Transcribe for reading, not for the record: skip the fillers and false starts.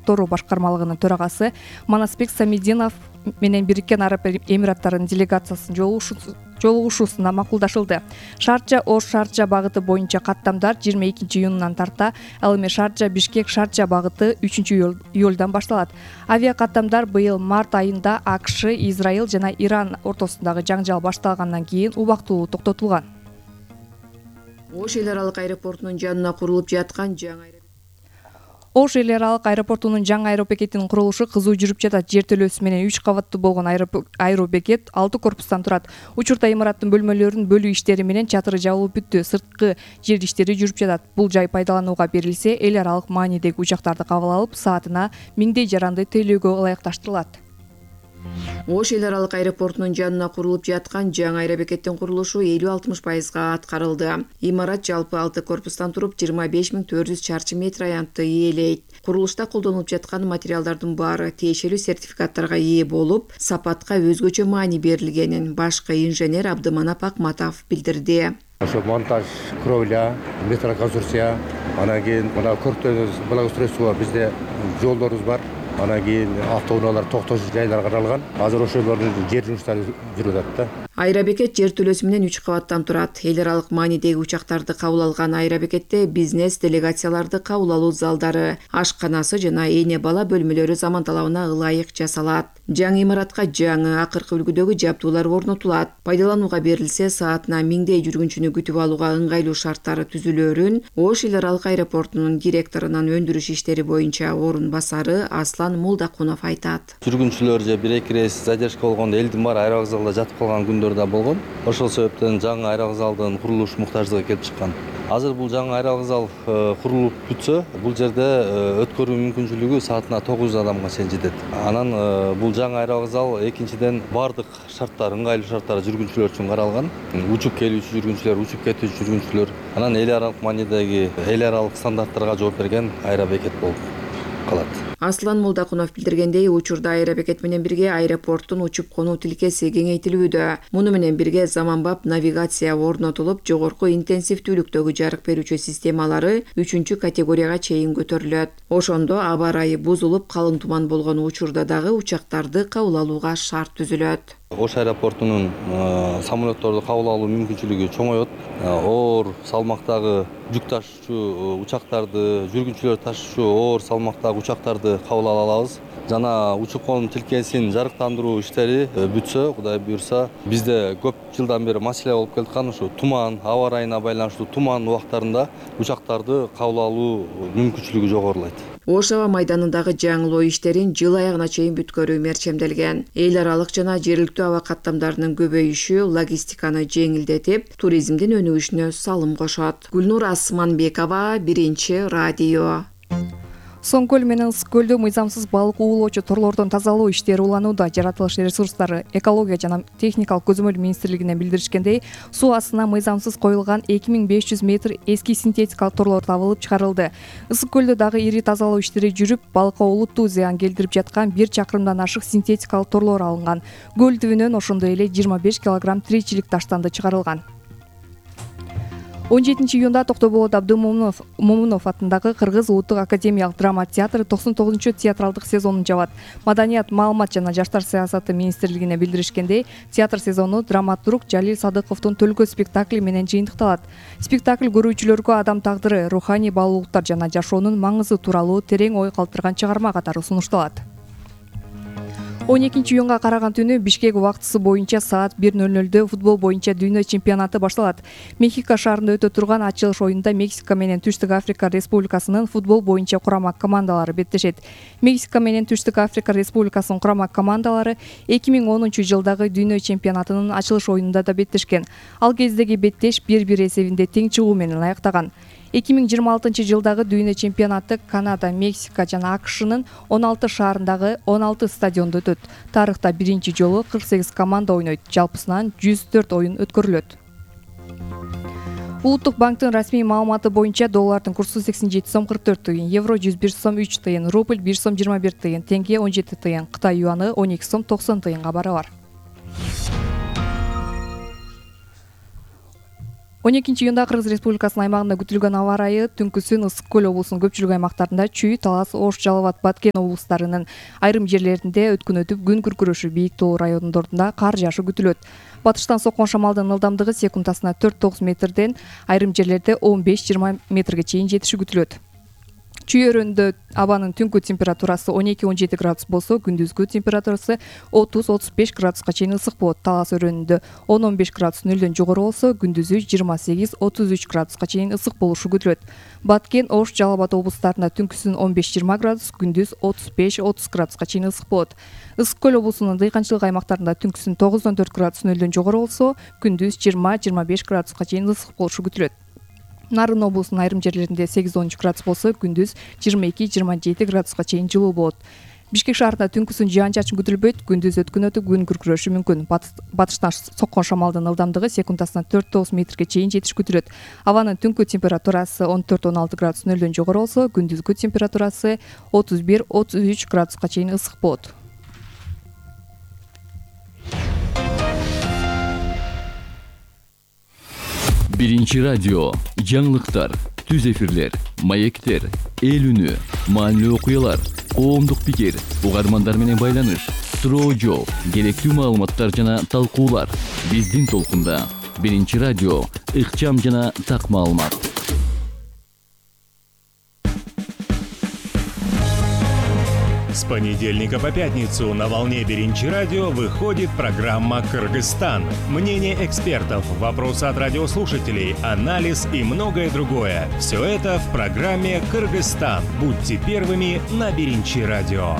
контору башкармалыгынын төрагасы Манасбек Самидинов менен Бириккен Араб Эмираттарынын делегациясынын жолугушуусуна макулдашылды. Шарджа-Ош Шарджа багыты боюнча каттамдар 22-июнунан тарта, ал эми Шарджа-Бишкек Шарджа багыты 3-июлдан башталат. Авиакаттамдар быйыл март айында АКШ, Израиль жана Иран ортосундагы жаңжал башталгандан кийин убактылуу токтотулган. Ош эл аралык аэропортунун жанына курулуп жаткан Ош эл аралык аэропортунун жаңы аэробекетинин курулушу кызуу жүрүп жатат. Жертөлөөсү менен 3 кабаттуу болгон аэробекет 6 корпустан турат. Учурда имараттын бөлмөлөрүнүн бөлүү иштери менен чатыры жабылып бүттү. Сырткы жер иштери жүрүп жатат. Бул жай пайдаланууга берилсе, эл аралык маанидеги учактарды кабыл алып, саатына 1000 жаранды тейлөөгө ылайыкташтырылат. Ош эл аралык аэропортунун жанына курулуп жаткан жаңы аэробекеттин курулушу 50-60% аткарылды. Имарат жалпы 6 корпустан туруп 25400 чарчы метр аянтты ээлейт. Курулушта колдонулуп жаткан материалдардын баары тиешелүү сертификаттарга ээ болуп, сапатка өзгөчө маани берилгенин башкы инженер Абдыманап Акматов билдирди. Ошо монтаж, кровля, метроконструкция, анан кийин мына көрктөгү благоустройство бизде жолдорубуз бар. Анан кийин автоунаалар токтош жайлар каралган. Азыр ошолордун жер жумуштары жүрүп атат да. Аэробекет жертөлөөсү менен 3 кабаттан турат. Эл аралык маанидеги учактарды кабыл алган аэробекетте бизнес делегацияларды кабыл алуу залдары, ашканасы жана эне бала бөлмөлөрү заман талабына ылайык жасалат. Жаңы имаратка жаңы акыркы үлгүдөгү жабдуулар орнотулат. Пайдаланууга берилсе, саатына 1000 жүргүнчүнү күтүп алууга ыңгайлуу шарттары түзүлөөрүн Ош эл аралык аэропортунун директорунун өндүрүш иштери боюнча орун басары Аслан Молдакунов айтат. Жүргүнчүлөр же 1-2 рейс задержка болгондо элдин баары аэровокзалда жатып калган күндөр да болгон. Ошол себептен жаңы аэровокзалдын курулуш муктаждыгы келип чыккан. Азыр бул жаңы аэровокзал курулуп бүтсө, бул жерде өткөрүү мүмкүнчүлүгү саатына 900 адамга чейин жетет. Анан бул жаңы аэровокзал экинчиден бардык шарттар, ыңгайлуу шарттар жүргүнчүлөр үчүн каралган. Учуп келүүчү жүргүнчүлөр, учуп кетүүчү жүргүнчүлөр, анан эл аралык маанидеги эл аралык стандарттарга жооп берген аэробекет болуп калат. Аслан Молдакунов билдиргендей, учурда аэробекет менен бирге аэропорттун учуп конуу тилкеси кеңейтилүүдө. Муну менен бирге заманбап навигация орнотулуп, жогорку интенсивдүүлүктөгү жарык берүүчү системалары 3-категорияга чейин көтөрүлөт. Ошондо аба ырайы бузулуп, калың туман болгон учурда дагы учактарды кабыл алууга шарт түзүлөт. Ош аэропортунун самолетторду кабыл алуу мүмкүнчүлүгү чоңоет. Оор салмактагы жүк ташуучу учактарды, жүргүнчүлөр ташуучу оор салмактагы учактарды кабыл ала алабыз. Жана учуп конуу тилкесин жарыктандыруу иштери бүтсө, Кудай буйрса, бизде көп жылдан бери маселе болуп келаткан ушу туман, аба ырайына байланыштуу туман убактарында учактарды кабыл алуу мүмкүнчүлүгү жогорулайт. Ош аба майданындагы жаңылоо иштерин жыл аягына чейин бүткөрүү мерчемделген. Эл аралык жана жергиликтүү аба каттамдарынын көбөйүшү логистиканы жеңилдетип, туризмдин өнүгүшүнө салым кошот. Гүлнур Асманбекова, Биринчи радио. Соң көл менен Ысык көлдө мыйзамсыз балык уулоочу торлордун тазалоо иштери уланууда. Жаратылыш ресурстары, экология жана техникалык көзөмөл министрлигинен билдиришкендей, суу астына мыйзамсыз коюлган 2500 метр эски синтетикалык торлор табылып чыгарылды. Ысык көлдө дагы ири тазалоо иштери жүрүп, балыкка олуттуу зыян келтирип жаткан 1 чакырымдан ашык синтетикалык торлор алынган. Көл түбүнөн ошондой эле 25 килограмм тиричилик таштанды чыгарылган. 17-июнда Токтоболот Абдымомунов атындагы Кыргыз улуттук академиялык драма театры 99-чу театралдык сезонун жабат. Маданият, маалымат жана жаштар саясаты министрлигине билдиришкендей, театр сезону драматург Жалил Садыковдун Төлкө спектакли менен жыйынтыкталат. Спектакль көрүүчүлөргө адам тагдыры, руханий баалуулуктар жана жашоонун маңызы тууралуу терең ой калтырган чыгарма катары сунушталат. 12-июнга караган түнү Бишкек убактысы боюнча саат 1:00 футбол боюнча дүйнө чемпионаты башталат. Мехико шаарында өтө турган ачылыш оюнунда Мексика менен Түштүк Африка Республикасынын футбол боюнча курама командалары беттешет. Мексика менен Түштүк Африка Республикасынын курама командалары 2010-жылдагы дүйнө чемпионатынын ачылыш оюнунда да беттешкен. Ал кездеги беттеш 1-1 эсебинде тең чыгуу менен аяктаган. 2026-жылдагы дүйнө чемпионаты Канада, Мексика жана АКШнын 16 шаарындагы 16 стадиондо өтөт. Тарыхта биринчи жолу 48 команда ойнойт. Жалпысынан 104 оюн өткөрүлөт. Улуттук банктын расмий маалыматы боюнча доллардын курсу 87 сом 44 тыйын, евро 101 сом 3 тыйын, рубль 1 сом 21 тыйын, теңге 17 тыйын, Кытай юаны 12 сом 90 тыйынга барабар. 12-июнда Кыргыз Республикасынын аймагында күтүлгөн аба ырайы түнкүсүн Ысык көл облусунун көпчүлүк аймактарында Чүй, Талас, Ош, Жалал Абад, Баткен облустарынын айрым жерлеринде өткөн өтүп күн күркүрөшү бийик тоо райондорунда кар жаашы күтүлөт. Батыштан соккон шамалдын ылдамдыгы секундасына 4-9 метрден айрым жерлерде 15-20 метрге чейин жетиши күтүлөт. Чүй өрөөнүндө абанын түнкү температурасы 12-17 градус болсо, күндүзгү температурасы 30-35 градуска чейин ысык болот. Талас өрөөнүндө 10-15 градус нөлдөн жогору болсо, күндүзү 28-33 градуска чейин ысык болушу күтүлөт. Баткен, Ош, Жалал Абад облустарында түнкүсүн 15-20 градус, күндүз 35-30 градуска чейин ысык болот. Ысык көл облусунун дыйканчылык аймактарында түнкүсүн 9-4 градус нөлдөн жогору болсо, күндүз 20-25 градуска чейин ысык болушу күтүлөт. Нарын облусунун айрым жерлеринде 8-13 градус болсо, күндүз 22-27 градуска чейин жылуу болот. Бишкек шаарында түнкүсүн жаан-чачын күтүлбөйт, күндүз өткөн өтүп күн күркүрөшү мүмкүн. Батыштан соккон шамалдын ылдамдыгы секундасына 4-9 метрге чейин жетиш күтүлөт. Абанын түнкү температурасы 14-16 градус нөлдөн жогору болсо, күндүзгү температурасы 31-33 градуска чейин ысык болот. Биринчи радио, жаңылыктар, түз эфирлер, маектер, эл үнү, маанилүү окуялар, коомдук пикир, угармандар менен байланыш, суроо жооп, керектүү маалыматтар жана талкуулар. Биздин толкунда Биринчи радио, ыкчам жана так маалымат. С понедельника по пятницу на волне Биринчи радио выходит программа «Кыргызстан». Мнение экспертов, вопросы от радиослушателей, анализ и многое другое. Все это в программе «Кыргызстан». Будьте первыми на Биринчи радио.